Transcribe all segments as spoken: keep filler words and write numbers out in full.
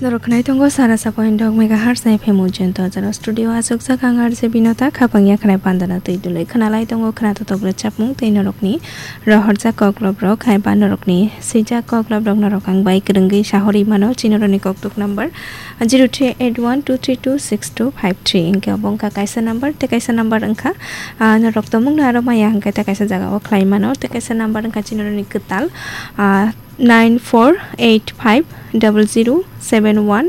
Norok khwnai tongo sara sa point dok megahertz F M ujento jora studio aswk jak ang R J Binota khapang ya khwnai pandana twi dulwi khwnalai tongo khwna totok rwchapmung tei norokni rohorjak koklop rok hai ba norokni swijak koklop rok norok ang bai kwrwngwi sahorwi mano chini rokni koktuk number zero three eight one two three two six two five three hwnkhe obo wngkha kaisa number tei kaisa number wngkha ah, norok tongmungno aro maya hwnkhe tei kaisa jagao khlai mano tei kaisa number wngkha chini rokni kwtal ah, nine four eight five double zero seven one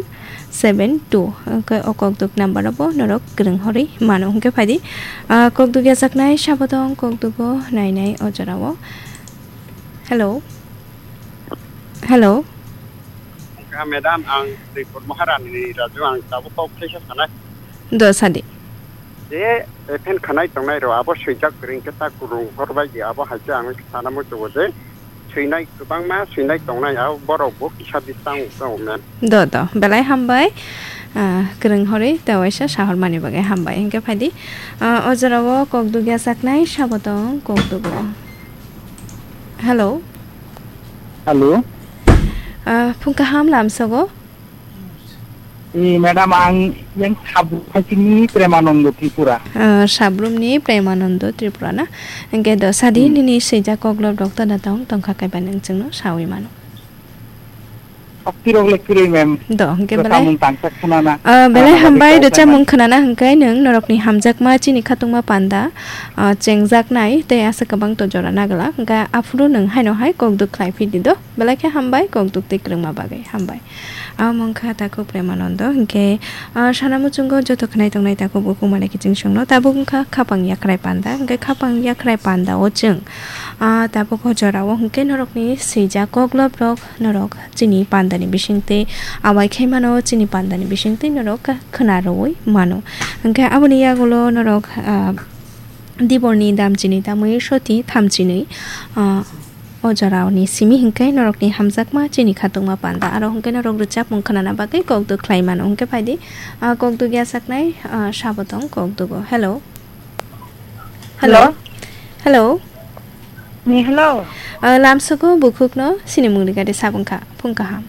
seven two hwnkhe o kokduk number o bo norok kwrwng horwi mano hwnkhe phaidi ah, kokduk yachaknai sabotong kokdugo nainai o jorao. Hello. Hello. Wngkha, madam, ang Tripur Maharani ni Raju, ang tabuk kok thaisa sanai. Do sadi. Je, ephen khanai tongnai ro, abo swijak kwrwng khe ta kwrwng hor bai di, abo hai khe ang sana muchungo je, swinai kwbangma swinai tongnai, abo borok bo kisa bisang tongo, ma'am. Do, do, belai hambai. Ah, kwrwng horwi ta waisa sahor mani bagwi hambai. Hwnkhe phaidi, ah, o jorao kokduk yachaknai sabotong kokdugo. Hello. Hello. Ah, phung kaham lamsogo. Eh, madam, ang yang Sabrum phaisingni Premanando Tripura. Ah, Sabrumni Premanando Tripura na? Hwnkhe do sadi Hmm. nini swijak koklop rok to da tong tongkha kaiba nwng chwngno sawi mano. Oktirok le kwrwi, ma'am. Do, hwnkhe belai. Rwchapmung tangsa khwnana. Ah, belai khwnana hambai bagwi kok rwchapmung khaimani. Khwnana hwnkhe nwng norokni hamjakma chini khatungma panda, ah, chengjaknai tei aswk kwbang to jora nagwlak. Hwnkhe aphuru nwng haino hai kokduk khlai phidi do. Belai khe hambai kokduk tei kwrwngma bagwi. Hambai. Amo wngkha takhuk Premanando. Hwnkhe, ah, sana muchungo joto khwnai tongnai takhuk bukhuk mane kiching songno. Tabuk wngkha khapang yakhrai panda. Hwnkhe khapang yakhrai panda o chwng, ah, tabuk o jora o hwnkhe norokni swijak koklop rok norok chini pandani bisingtwi awai khai mano, chini pandani bisingtwi norok khwna rwui mano. Hwnkhe aboni yagulo norok, ah, diborni dam chini tamwi soti tham chini, ah, o jorani simi hwnkhe norokni hamjakma chini khatungma panda. Aro hwnkhe norok rwchapmung khwnana bagwi kokduk khlai mano. Hwnkhe phaidi, ah, kokduk yachaknai, ah, sabotong kokdugo. Hello. Hello. Hello. Ni hello. Ah, lamsogo bukhukno sini mungni gade sabungkha phung kaham.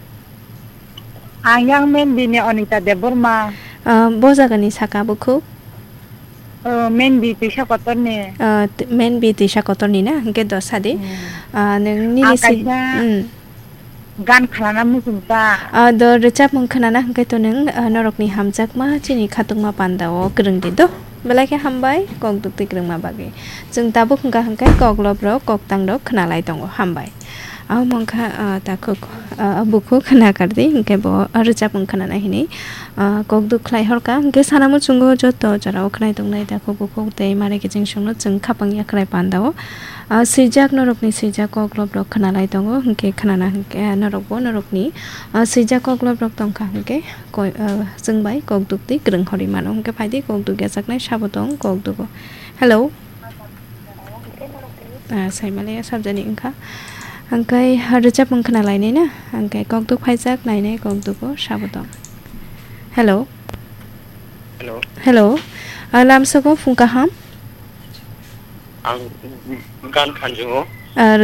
Ang yang Menbini Anita Debbarma. Ah, bo jagani saka bukhuk? Oh, Menbi Twisa Kotorni. Ah, t-, Menbi Twisa Kotorni na? Hwnkhe do sadi. Hmm. Ah, nwng nini Ang si-, kaisa hmm. Gan khanana muchungkha. Ah, do rwchapmung khwnana hwnkhe to nwng, ah, norokni hamjakma chini khatungma panda o kwrwng di do. Belai khe hambai, kok duk twi kwrwngma bagwi. Chwng tabuk hwnkha hwnkhe koklop rok, koktang rok khwnalai tongo. Hambai. Abo wngkha, ah, takhuk, ah, bukhuk nakardi, hwnkhe bo rwchapmung khwnana hinwi, ah, kok duk khlai horkha. Hwnkhe sana muchungo joto jorao khwnai tongnai takhuk bukhuk tei mare kiching songno chwng khapang yakhrai panda o. Ah, swijak norokni swijak koklop rok khwnalai tongo, hwnkhe khwnana hwnkhe, ah, norokbo norokni, ah, swijak koklop rok tongkha hwnkhe koi, ah, chwng bai kok duk twi kwrwng horwi mano, hwnkhe phaidi kok duk yachaknai sabo tong kok dugo. Hello. Ah, saimaliya sabjani wngkha. Hwnkhe rwchapmung khwnalainai na, hwnkhe kok duk phaijak nainai kok dugo sabo tong. Hello. Hello. Hello. Ah, lamsogo phung kaham. Ang gan khanjungo. Ah,